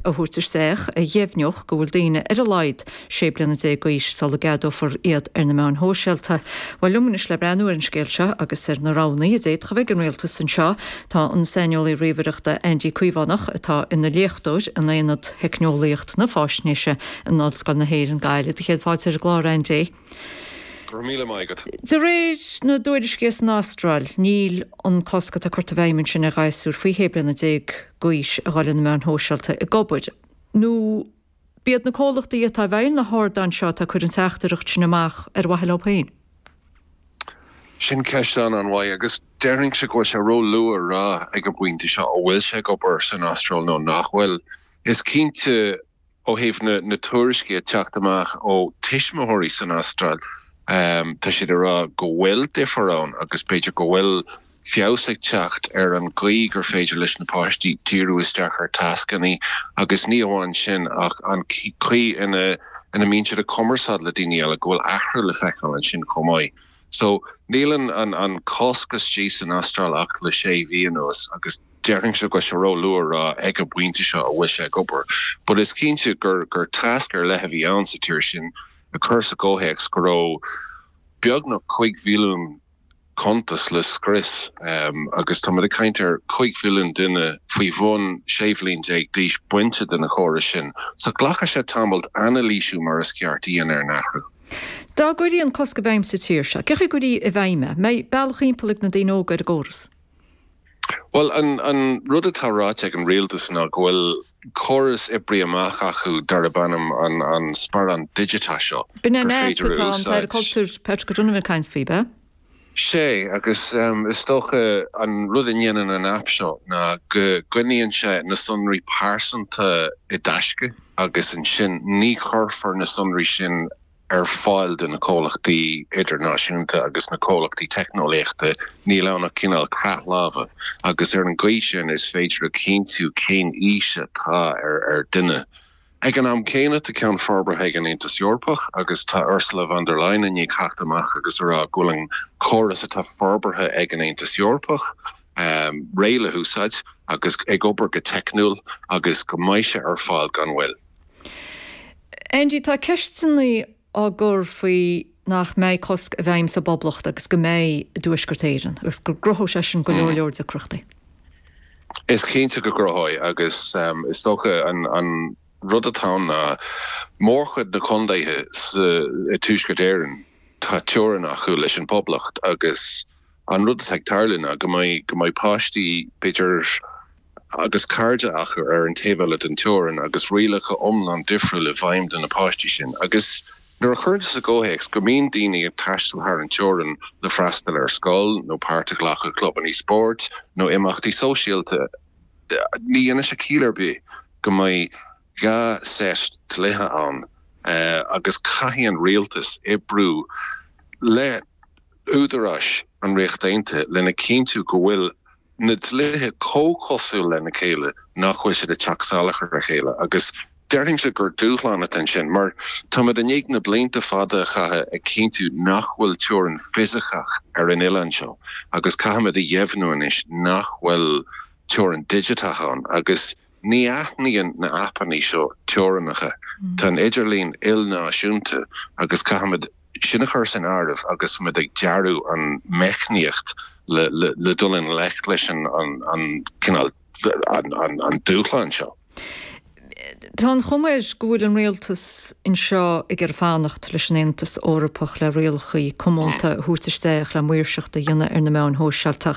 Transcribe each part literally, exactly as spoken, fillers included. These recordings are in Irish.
a thabhairt isteach a dheimhneodh go bhfuil daoine ar a laghad sé bliana déag d'aois sula gceadófar iad ar na meáin shóisialta. Bhuel liom anois le breathnú ar an scéal seo agus ar na roghanna a d'fhéadfadh a bheith ag an rialtas anseo tá an saineolaí ríomhaireachta Andy Caomhánach atá ina léachtóir in Aonad Theicneolaíocht na Faisnéise in Ollscoil na hÉireann Gaillimh. Céad fáilte ar an gclár Andy. Míle maith agat. De réir na dtuairiscí san Astráil, níl an cosc atá curtha i bhfeidhm ansin ar ghasúir faoi shé bliana déag d'aois a dhul ar na meáin shóisialta ag obair. Nó b'iad na comhlachtaí atá i bhfeighil na hardáin seo atá ag cur an teachtaireacht sin amach ar mhaithe leo féin. Sin ceist an-mhaith agus déarfainnse go bhfuil sé ró-luath a rá ag an bpointe seo an bhfuil sé ag obair san Astráil nó nach bhfuil. Is cinnte ó thaobh na, na tuairiscí ag teacht amach ó tuismitheoirí san Astráil, um, tá siad ag rá go bhfuil difear ann agus b'fhéidir go bhfuil feabhas ag teacht ar an gcaoi gur féidir leis na páistí díriú isteach ar tascanna agus ní amháin sin ach an chaoi ina ina mbíonn siad ag cumarsáid le daoine eile go bhfuil athrú le feiceáil ansin chomh maith. So níl an, an, an cosc istigh san Astráil ach le sé mhí anuas agus déarfainnse go bhfuil sé ró-luath a rá ag an bpointe seo an bhfuil sé ag obair. But is cinnte gur gur tasc ar leith a bhí ann sa tír sin a chur sa gcomhthéacs go raibh beagnach cúig mhilliún cuntas le scrios um, agus tá ag caint ar cúig mhilliún duine faoi bhun sé bhliain déag d'aois bainte de na córais sin. So glacfaidh sé tamall anailísiú mar is ceart a dhéanamh ar an athrú. Dá gcuirfí an cosc i bhfeidhm sa tír seo, cé gcuirfí i bhfeidhm é, mbeidh bealach timpeall ag na daoine óga ar an gcóras. Well an, an rud atá ráite ag an rialtas ná go bhfuil córas oibrithe amach acu darb ainm an, an sparán digiteach seo. B'in an aip atá an tAire Cultúir Patrick O'Donovan ag caint faoi be? Sé agus um, is dócha an rud a dhéanann an app seo ná go gcoinníonn sé na sonraí pearsanta i dtaisce agus ansin ní chuirfear na sonraí sin ar fáil do na comhlachtaí idirnáisiúnta agus na comhlachtaí teicneolaíochta níl ann ach cineál creat láimhe agus ar an gcaoi sin is féidir a chinntiú cén aois atá ar ar duine. Ag an am céanna tá ceann forbartha ag an Aontas Eorpach agus tá Ursula von der Leyen i ndiaidh teacht amach agus rá go bhfuil an córas atá forbartha ag an Aontas Eorpach um, réidh le húsáid agus ag obair go teicniúil agus go mbeidh sé ar fáil gan mhoill. Andy tá ceisteanna á gcur faoi nach mbeidh cosc i bhfeidhm sa bPoblacht agus go mbeidh i dTuaisceart Éireann agus go gcruthódh sé sin go leor leor deacrachtaí. Is cinnte go gcruthóidh agus um, is dócha an, an rud atá ná mórchuid na contaetha i Tuaisceart Éireann tá teorainn acu leis an Poblacht agus an rud atá ag tarlú ná go mbeidh go mbeidh páistí b'fhéidir agus cairde acu ar an taobh eile den teorainn agus rialacha iomlán difriúil i bhfeidhm do na páistí sin agus nuair a chuireann sa gcomhthéacs go mbíonn daoine ag taisteal thar an teorainn le freastal ar scoil nó páirt a ghlacadh clubanna spóirt nó imeachtaí sóisialta ní dhéanann sé ciall ar bith go mbeidh dhá set dlíthe ann uh, agus caithfidh an rialtas oibriú le údaráis an Ríocht Aontaithe lena chinntiú go bhfuil na dlíthe comhchosúil lena chéile nach bhfuil siad ag teacht salach ar a chéile agus déarfainnse gur dúshlán atá ansin mar táimid i ndiaidh na blianta fada a chaitheamh ag cinntiú nach bhfuil teorainn fisiceach ar an oileán seo agus caithfimid a dheimhniú anois nach bhfuil teorainn digiteach ann agus ní aithníonn na haipeanna seo teorainneacha. Tá an idirlíon ilnáisiúnta agus caithfimid sin a chur san áireamh agus muid ag dearadh an meicníocht le, le, le dul i ngleic leis an, an, an cineál an, an, an dúshlán seo. Tá an chuma air go bhfuil an rialtas anseo ag iarraidh fanacht leis an Aontas Eorpach le rialacha comónta a thabhairt isteach le maoirseacht a dhéanamh ar na meáin shóisialta.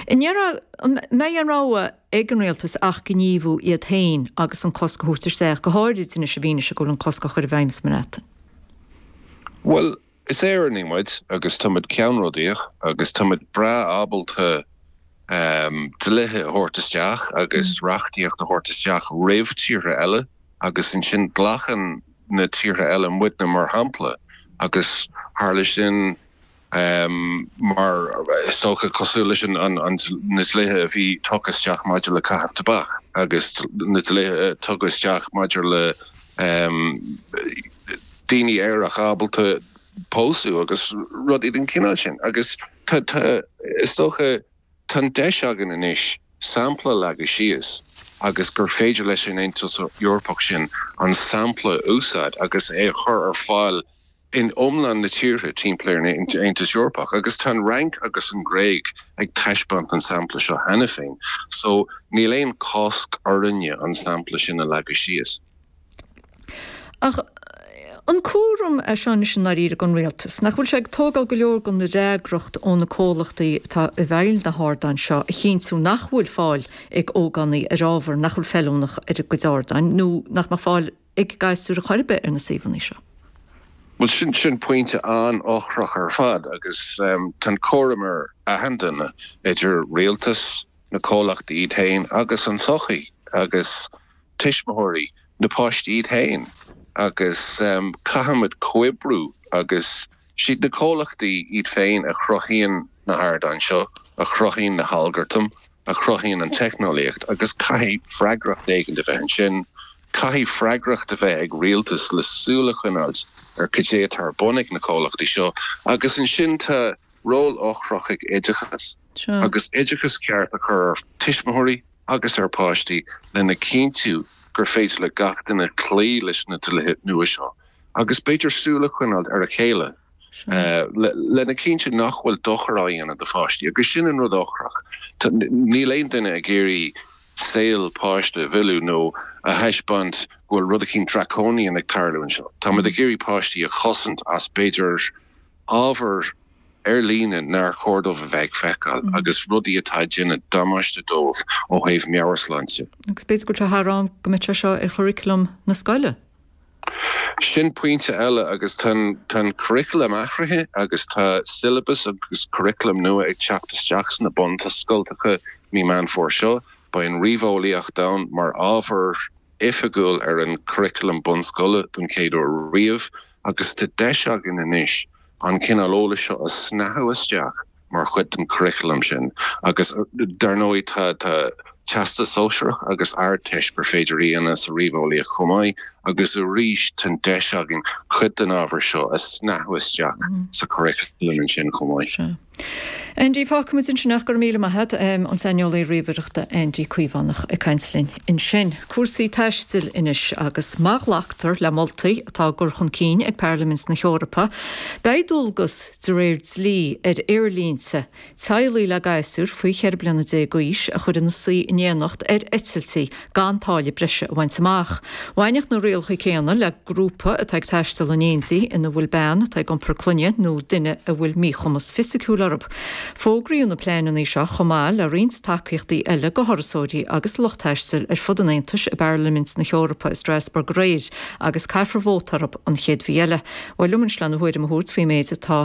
An mbeidh an rogha ag an rialtas ach gníomhú iad féin agus an cosc a thabhairt isteach go háirid anois i bhfianaise go bhfuil an cosc á chur i bhfeidhm sa mBreatain. Well, is Éireannaigh muid agus táimid ceannródaíoch agus táimid breá ábalta um, dlíthe a thabhairt isteach agus mm. reachtaíocht a thabhairt isteach roimh tíortha eile agus ansin glacann na tíortha eile muidne mar shampla agus tharla sin um, mar is dócha cosúil leis an, an, an na dlíthe a bhí tugtha isteach maidir le caitheamh tobac agus na dlíthe tugtha isteach maidir le um, daoine aeracha ábalta pósadh agus rudaí den chineál sin agus tá tá is dócha tá deis againn anois sampla leagadh síos agus gur féidir leis an Aontas Eorpach sin an sampla a úsáid agus é a chur ar fáil in iomlán na tíortha timpeall ar an Aontas Eorpach. Agus tá an Fhrainc agus an Ghréig ag taispeáint an sampla seo cheana féin, so níl aon cosc orainne an sampla sin a leagadh síos. Ach an cúram é seo anois i ndáiríre don rialtas, nach bhfuil sé ag tógáil go leor den fhreagracht ó na comhlachtaí atá i bhfeighil na hardáin seo a chinntiú nach bhfuil fáil ag ógánaigh ar ábhar nach bhfuil feiliúnach ar a gcuid ardáin nó nach mbeadh fáil ag gasúir ar chor ar bith ar na suíomhanna seo? Bhuel sin sin pointe an-eochrach ar fad agus tá an cúram ar achan duine, idir rialtas, na comhlachtaí iad féin agus an tsochaí agus tuismitheoirí na páistí iad féin agus caithfimid comhoibriú agus siad na comhlachtaí iad féin a chruthaíonn na hardáin seo, a chruthaíonn na halgartaim, a chruthaíonn an teicneolaíocht agus caithfidh freagracht éigin a bheith ansin. Caithfidh freagracht a bheith ag rialtas le súil a choinneáilt ar cad é atá ar bun ag na comhlachtaí seo agus ansin tá ról eochrach ag oideachas agus oideachas ceart a chur ar tuismitheoirí agus ar pháistí lena chinntiú gur féidir le gach duine cloí leis na dlíthe nua seo agus b'fhéidir súil a choinneáil ar a chéile lena chinntiú nach bhfuil dochar á dhéanamh do pháistí agus sin an rud eochrach. Níl aon duine ag iarraidh saol páiste a mhilleadh nó a thaispeáint go bhfuil rud eicínt draconian ag tarlú anseo. Táimid ag iarraidh páistí a chosaint as b'fhéidir ábhar ar líne nár chóir dóibh a bheith ag feiceáil agus rudaí atá ag déanamh damáiste dóibh ó thaobh meabhairshláinte. Agus b'fhéidir go bhfuil sé thar am go mbeadh sé seo ar churaclam na scoile? Sin pointe eile agus tá an curriculum athraithe agus tá syllabus agus curriculum nua ag teacht isteach sna bunscoltacha mí Meán Fómhair seo. Beidh an ríomheolaíocht ann mar ábhar oifigiúil ar an curriculum bunscoile don chéad uair riamh agus tá deis againn anois an cineál eolais seo a shnáthú isteach mar chuid den churriculum sin agus dar ndóigh tá tá Teastas Sóisearach agus Ardteist gur féidir a dhéanamh sa ríomheolaíocht chomh maith agus arís tá an deis againn cuid den ábhar seo a shnáthú isteach sa churriculum ansin chomh maith. Sea. Andy, fágfaimid ansin ach go raibh míle maith agat, an saineolaí ríomhaireachta Andy Caomhánach ag caint linn ansin. Cúrsaí taistil anois agus má ghlactar le moltaí atá á gcur chun cinn ag Parlaimint na hEorpa, beidh dualgas de réir dlí ar aerlínte teaghlaigh le gasúir faoi cheithre bliana déag d'aois a chur ina suí in éineacht ar eitiltí gan táille breise a bhaint amach. Bhainfeadh na rialacha céanna le grúpa atá ag taisteal in éindí ina bhfuil bean atá ag iompar clainne nó duine a bhfuil míchumas fisiciúil orthu. Fógraíodh na pleananna seo chomh maith le roinnt tacaíochtaí eile do thurasóirí agus lucht taistil ar fud an Aontais i bParlaimint na hEorpa i Strasbourg aréir agus caithfear vóta orthu an chéad mhí eile. Bhuel, liom anois lena thuairim a thabhairt faoin méid atá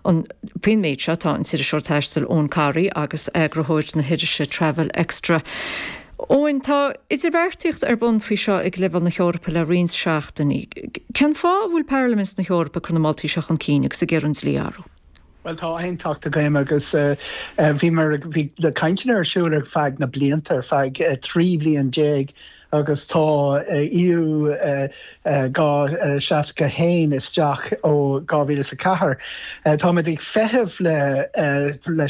an faoin méid seo tá an t-iriseoir taistil Eoin Corry agus eagarthóir na hirise Travel Extra. Eoin, tá idirbheartaíocht ar bun faoi seo ag leibhéal na hEorpa le roinnt seachtainí. Cén fáth a bhfuil Parlaimint na hEorpa ag cur na moltaí seo chun cinn agus ag iarraidh an dlí a athrú? Bhuel tá aontacht agam agus bhí mar bhí na cainteanna ar siúl ar feadh na blianta ar feadh trí bliain déag agus tá EU dhá seasca haon isteach ó dhá mhíle is a ceathair. Táimid ag feitheamh le le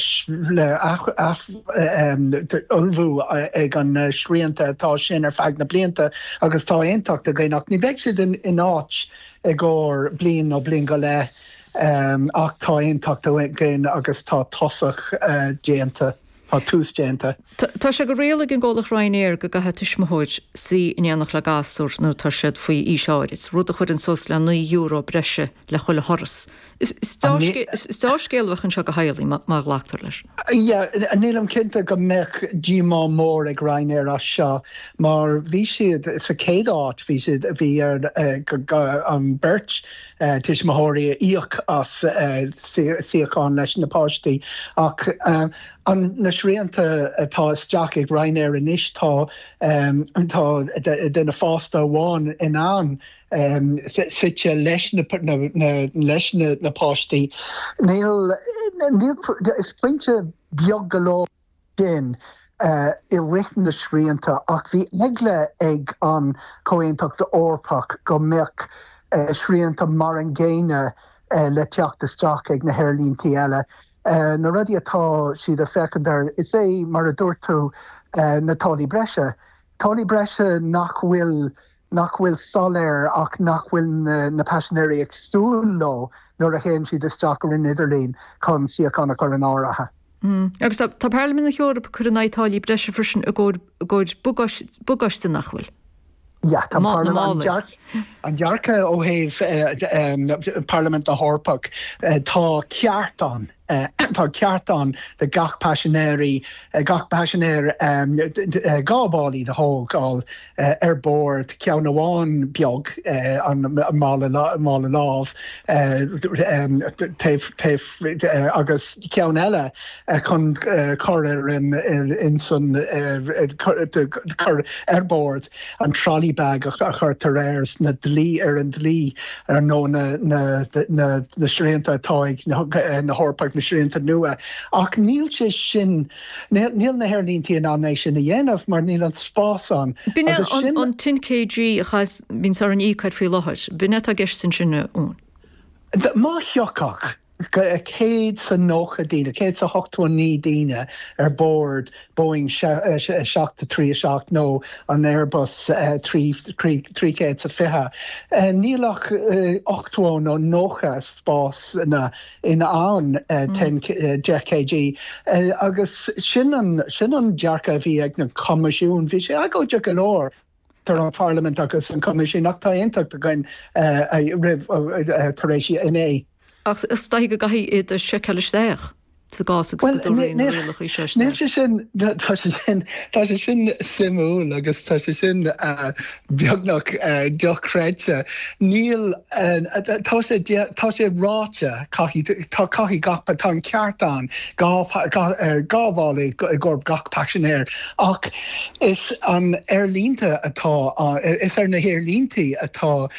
ullmhú ag an srianta atá sin ar feadh na blianta agus tá aontacht againn ach ní bheidh siad in áit i gcomhair bliain nó bliain go leith ach tá aontacht againn agus tá tosach déanta. Tá tús déanta. Tá sé de riail ag an gcomhlacht Ryanair go gcaithfidh tuismitheoir suí in éineacht le gasúr nuair atá siad faoi aois áirid, rud a chuireann suas le naoi euro breise le chuile thuras. Is dea-scéal a bheadh anseo do theaghlaigh má ghlactar leis. Yeah, nílim cinnte go mbeadh díomá mór ag Ryanair as seo mar bhí siad sa chéad áit, bhí siad, bhí ar an beirt tuismitheoirí a íoc as suíochán leis na páistí ach an na srianta atá isteach ag Ryanair anois tá tá duine fásta amháin in ann suite leis na leis na páistí. Níl níl is pointe beag go leor sin i rith na srianta ach bhí eagla ag an Chomhaontacht Eorpach go mbeadh srianta mar an gcéanna le teacht isteach ag na haerlíntí eile. Na rudaí atá siad ag féachaint air, is é mar a dúirt tú na táillí breise. Táillí breise nach bhfuil nach bhfuil soiléir ach nach bhfuil na, na paisinéirí ag súil leo nuair a théann siad isteach ar an idirlíon chun suíochán a chur in áirithe. Mm. Agus tá, tá Parlaimint na hEorpa ag cur in aghaidh táillí breise freisin i gcomhair bagáiste nach bhfuil. Ja, tá an dearcadh ó thaobh Parlaimint na hEorpach tá ceart ann tá ceart ann do gach paisinéirí gach paisinéir dhá mhála a thógáil ar bord ceann amháin beag an mála mála lámh taobh taobh agus ceann eile chun cur ar in in san cur ar bord an trolley bag a chuirtear air na dlí ar an dlí ar nó na na na na srianta atá ag na hEorpaigh na srianta nua ach níl sé sin níl na haerlínte in ann é sin a dhéanamh mar níl an spás ann. B'in an an ten kg a chas bíonn ar an íocáid faoi láthair, b'in atá i gceist ansin ann. Má thiocfadh céad sa nócha daoine, céad sa hochtó naoi daoine ar bord Boeing seacht trí seacht nó an Airbus trí chéad sa fiche. Níl ach ochtó nó nócha spás na in ann deich kg agus sin an sin an dearcadh a bhí ag na Coimisiún, bhí sé agóideach go leor. idir an Pharlaimint agus an Coimisiún ach tá aontacht againn roimh tar éis inné. Ach is dóigh go gcaithfidh iad a sheiceáil isteach sa gcás agus go dtabharfaí na rialacha seo Níl sé sin tá sé sin tá sé sin suimiúil agus tá sé sin beagnach dochreidte. Níl tá sé tá sé ráite caithfidh tá caithfidh gach tá an ceart ann dhá dhá mhála i gcomhair gach paisinéir ach is an aerlínte atá is ar na haerlínte atá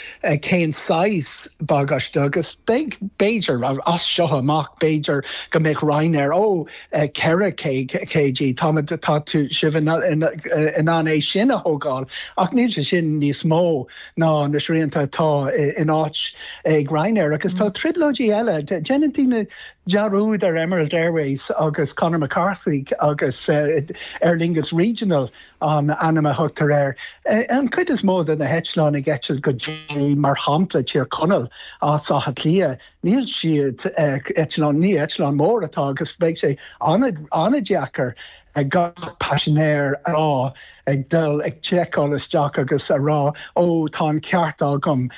cén saghas bagáiste agus beidh b'fhéidir as seo amach b'fhéidir go mbeidh Ryanair ó ceithre kg tá tá tú sibh in ann é sin a thógáil ach níl sé sin níos mó ná na srianta atá in áit ag Ryanair agus tá trioblóidí eile déanann daoine dearúd ar Emerald Airways agus Conor McCarthy agus Aer Lingus Regional an ainm a thugtar air. An chuid is mó de na heitleáin ag eitilt go dtí mar shampla Tír Chonaill as Áth Cliath, níl siad eitleán ní eitleán mór atá agus beidh sé an-deacair ag gach paisinéir a rá ag dul ag seiceáil isteach agus a rá ó tá an ceart agam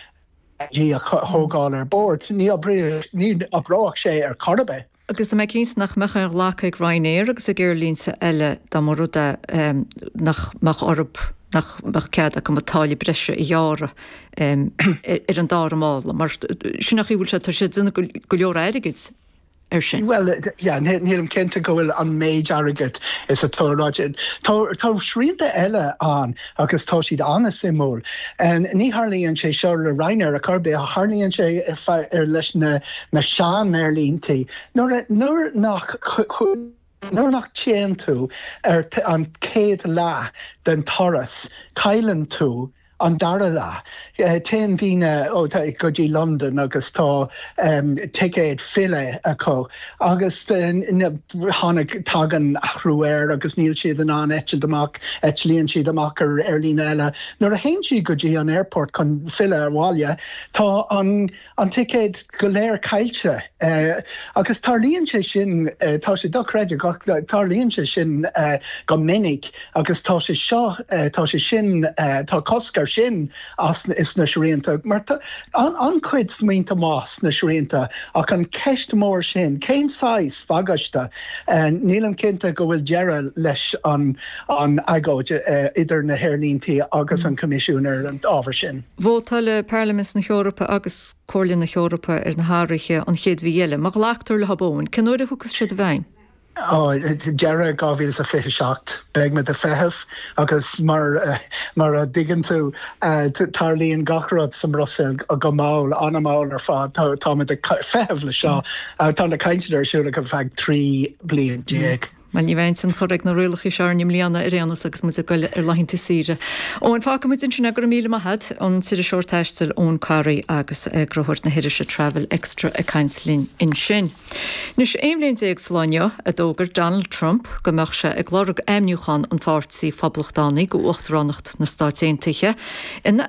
í a thógáil ar bord. Ní ní oibreodh sé ar chor ar bith. Agus tá mé cinnte nach mbeadh aon ghlacadh ag Ryanair agus ag aerlínte eile dá mba rud é nach mbeadh orthu nach mbeadh cead acu an táille breise a ghearradh ar an dara mála, mar sin nach bhfuil sé tá sé ag déanamh go leor airgid ar sin. Well, yeah, nílim cinnte go bhfuil an méid airgid is atá ráite. Tá tá srianta eile ann agus tá siad an-suimiúil. Ní tharlaíonn sé seo le Ryanair a chor ar bith, tharlaíonn sé ar leis na na sean-aerlínte. Nuair nuair nach nuair nach téann tú ar an chéad leath den turas, cailleann tú an dara leath. Téann daoine go dtí London agus tá um, ticéad filleadh acu agus tháinig tagann athrú air agus níl siad in ann eitilt amach eitlíonn siad amach ar aerlíne eile. Nuair a théann siad go dtí an airport chun filleadh ar bhaile, tá an an ticéad go léir caillte uh, agus tarlaíonn sé sin uh, tá sé dochreidte tarlaíonn sé sin uh, go minic agus tá sé seo uh, tá sé sin uh, tá cosc air sin as is na srianta mar an an-chuid smaointe maithe sna srianta ach an ceist mór sin cén saghas bagáiste uh, nílim cinnte go bhfuil deireadh leis an an agóid uh, idir na haerlínte agus an Coimisiún ar an ábhar sin. Vótáil Parlaimint na hEorpa agus Comhairle na hEorpa ar na hathruithe an chéad mhí eile, má ghlactar leo cén uair a thiocfas siad i bhfeidhm? Deireadh dhá mhíle a fiche seacht beidh muid ag feitheamh agus mar mar a dtuigeann tú tarlaíonn gach rud sa mBruiséil go mall an-mhall ar fad táimid ag feitheamh le seo tá na cainteanna ar siúl ar feadh trí bliain déag. Well ní bheidh tionchar ag na rialacha seo i mbliana ar aon nós agus muid ag goil ar laethanta saoire. Eoin fágfaidh muid ansin go raibh míle maith agat an t-iriseoir taistil Eoin Corry agus eagarthóir na hirise Travel Extra ag caint linn ansin. Anois aon bhliain déag sa lá inniu a d'fhógair Donald Trump go mbeadh sé ag lorg ainmniúchán an Pháirtí Phoblachtánaigh go uachtaránacht na Stát Aontaithe ina